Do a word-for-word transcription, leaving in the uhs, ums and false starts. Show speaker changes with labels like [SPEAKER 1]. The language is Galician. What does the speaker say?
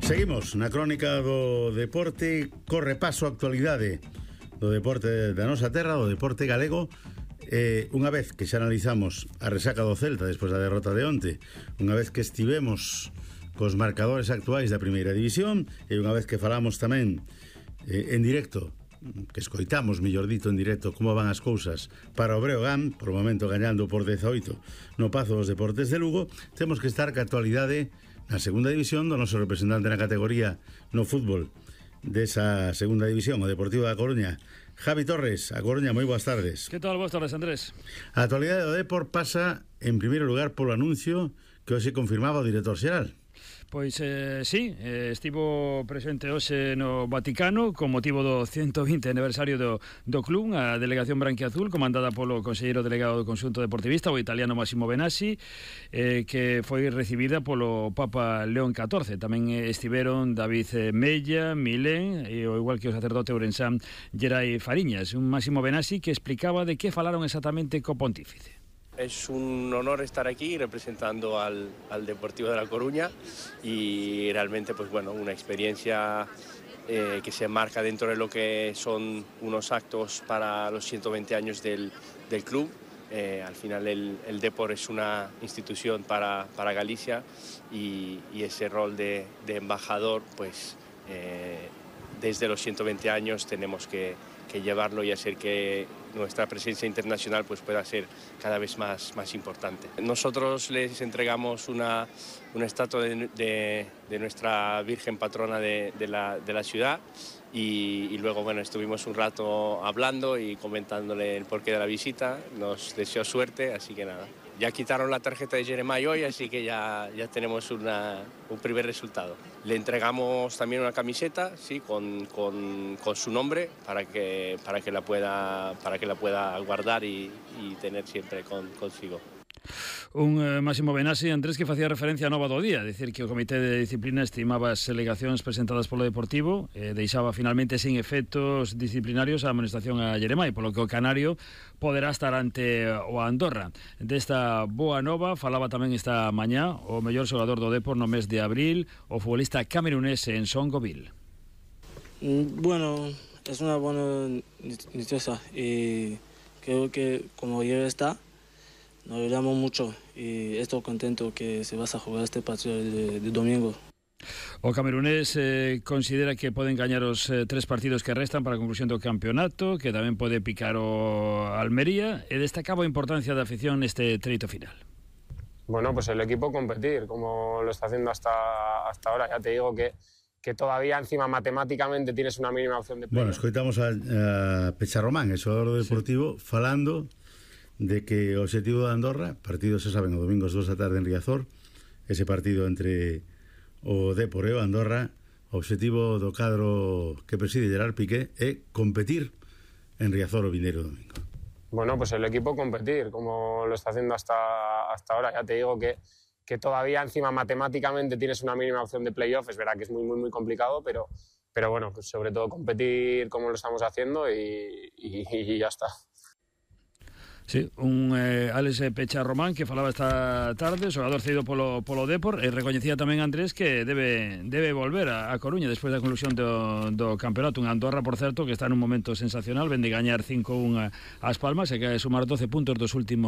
[SPEAKER 1] Seguimos na crónica do deporte, corre paso a actualidade do deporte da nosa terra, do deporte galego. Eh, unha vez que xa analizamos a resaca do Celta despois da derrota de onte, unha vez que estivemos cos marcadores actuais da primeira división, e unha vez que falamos tamén eh, en directo, que escoitamos, mellor dito, en directo, como van as cousas para o Breogán, por o momento gañando por dezaoito no Pazo dos Deportes de Lugo, temos que estar ca actualidade na segunda división do noso representante na categoría no fútbol desa segunda división, o Deportivo da Coruña, Javi Torres. A Coruña, moi boas tardes.
[SPEAKER 2] Que tal, boas tardes, Andrés?
[SPEAKER 1] A actualidade do Depor pasa, en primeiro lugar, polo anuncio que hoxe confirmaba o director xeral.
[SPEAKER 2] Pois eh, sí, eh, estivo presente hoxe no Vaticano con motivo do ciento vinte aniversario do, do club, a delegación branquiazul comandada polo conselleiro delegado do conxunto deportivista, o italiano Massimo Benassi, eh, que foi recibida polo Papa León catorce. Tamén estiveron David Mella, Milén e o igual que o sacerdote ourensán Gerai Fariñas. Un Massimo Benassi que explicaba de que falaron exactamente co pontífice.
[SPEAKER 3] Es un honor estar aquí representando al, al Deportivo de La Coruña y realmente pues bueno, una experiencia eh, que se enmarca dentro de lo que son unos actos para los ciento veinte años del, del club. Eh, al final el, el Depor es una institución para, para Galicia y, y ese rol de, de embajador pues eh, desde los ciento veinte años tenemos que, que llevarlo y hacer que nuestra presencia internacional pues pueda ser cada vez más, más importante. Nosotros les entregamos una, una estatua de, de, de nuestra Virgen Patrona de, de, la, de la ciudad y, y luego bueno, estuvimos un rato hablando y comentándole el porqué de la visita, nos deseó suerte, así que nada. Ya quitaron la tarjeta de Jeremai hoy, así que ya, ya tenemos una, un primer resultado. Le entregamos también una camiseta, sí, con, con, con su nombre para que, para que la pueda, para que la pueda guardar y, y tener siempre con, consigo.
[SPEAKER 2] Un eh, Massimo Benassi, Andrés, que facía referencia a nova do día, dicir que o Comité de Disciplina estimaba as alegacións presentadas polo Deportivo, eh, deixaba finalmente sin efectos disciplinarios a amonestación a Jeremai, polo que o Canario poderá estar ante o Andorra. Desta boa nova falaba tamén esta mañá o mellor xogador do Depor no mes de abril, o futbolista camerunés en Songoville.
[SPEAKER 4] Bueno, es una buena noticia y creo que como ya está, nos alegramos mucho y estoy contento que se va a jugar este partido de, de domingo.
[SPEAKER 2] O camerunés eh, considera que poden gañar os eh, tres partidos que restan para a conclusión do campeonato, que tamén pode picar o Almería, e destacaba a importancia da afición neste treito final.
[SPEAKER 5] Bueno, pues el equipo competir, como lo está haciendo hasta, hasta ahora. Ya te digo que, que todavía encima matemáticamente tienes una mínima opción de play.
[SPEAKER 1] Bueno, escoitamos a, a Pecharromán, el xogador do Deportivo, sí, falando de que o objetivo de Andorra, partido, se saben, o domingo as dúas da tarde en Riazor, ese partido entre o Depor e o Andorra, o objetivo do cadro que preside Gerard Piqué é competir en Riazor o vindeiro domingo.
[SPEAKER 5] Bueno, pues el equipo competir, como lo está haciendo hasta, hasta ahora. Ya te digo que, que todavía encima matemáticamente tienes una mínima opción de playoff. Es verdad que es muy, muy, muy complicado, pero, pero bueno, pues sobre todo competir como lo estamos haciendo y, y, y ya está.
[SPEAKER 2] Sí, un eh, Alex Pecharromán que falaba esta tarde, xogador cedido polo, polo Depor, e recoñecía tamén Andrés que debe, debe volver a, a Coruña despois da conclusión do, do campeonato. Un Andorra, por certo, que está nun momento sensacional, ven de gañar cinco a un ás Palmas e que sumar doce puntos dos últimos